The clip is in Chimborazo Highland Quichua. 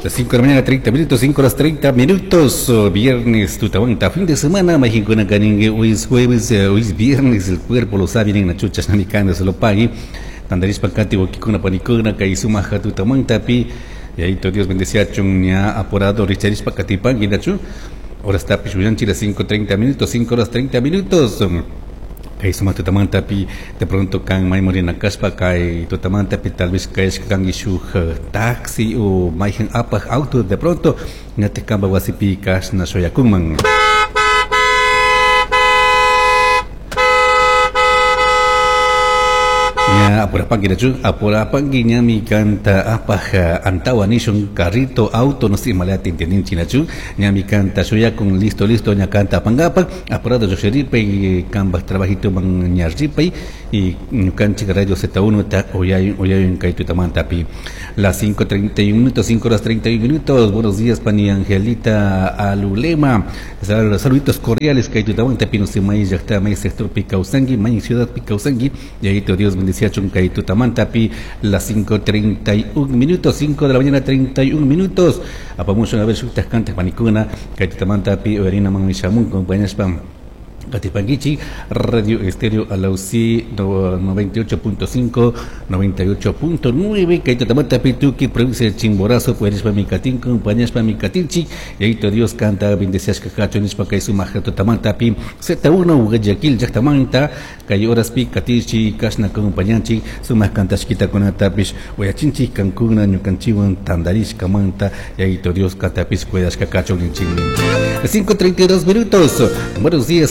Las 5 de la mañana, 30 minutos, 5 horas 30 minutos, viernes, tutamanta, fin de semana, majinkuna kaningue, hoy es jueves, hoy es viernes, el cuerpo lo sabe, en la chucha, shnamikanda, se lo pague, tandarishpa kati, wakikuna, panikuna, kay sumaja tutamantapi, y ahí todo Dios bendecía ña apurado, richarishpa katipangi, nachu, ahora está pichuyanchi, las 5:30 minutos, 5 horas 30 minutos. Kay suma tutamantapi de pronto kan maymurina kashpa kay tutamantapi tal vez kayashka kanki shuk taxi o mayhan apaj auto de pronto ñatik kanpa wasipi kashna shuyakunman. Ña apurapanki nachu, apurapanki ñami kanta apaj antawa nishun carrito, auto, no sé, malata entendinchi nachu, ñami kanta shuyakun, listo, listo, ña kanta apangapak, apurado llushiripay, kanpak trabajito man ña ripay, y ñukanchik Radio Z1 ta oyayun, oyayun kay tutamantapi. Las 5:31 minutos, 5 horas 31 minutos. Buenos días, pani Angelita Alulema. Saluditos cordiales kay tutamantapi, no sé, may llaqta, may sector Picausangi, may ciudad Picausangi. Y ahí te Dios bendecía chun kay tutamantapi. Las 5:31 minutos, 5 de la mañana, 31 minutos. Apamucho una vez shuktas cantas panikuna, kay tutamantapi, oyarina man mishamun, compañeros Katipanguichi, Radio Estéreo Alausí 98.5, 98.9, Kaitatamata Pituki, provincia de Chimborazo, Puerispa Micatín, compañías Micatinchi, y ahí Dios canta, bendecias Cacacho, Nispa Kaisuma, Tatamanta Pi, Z1, Guayaquil, Yactamanta, Kay Horas Pi, Katichi, Kashna, compañanchi, Suma Cantashquita Conatapish, Guayachinchi, Cancuna, Ñucanchiwan, Tandarish, Camanta, y ahí Dios canta, Pis, Cuedas, Cacacho, Ninchingui. 5:32 minutos. Buenos días.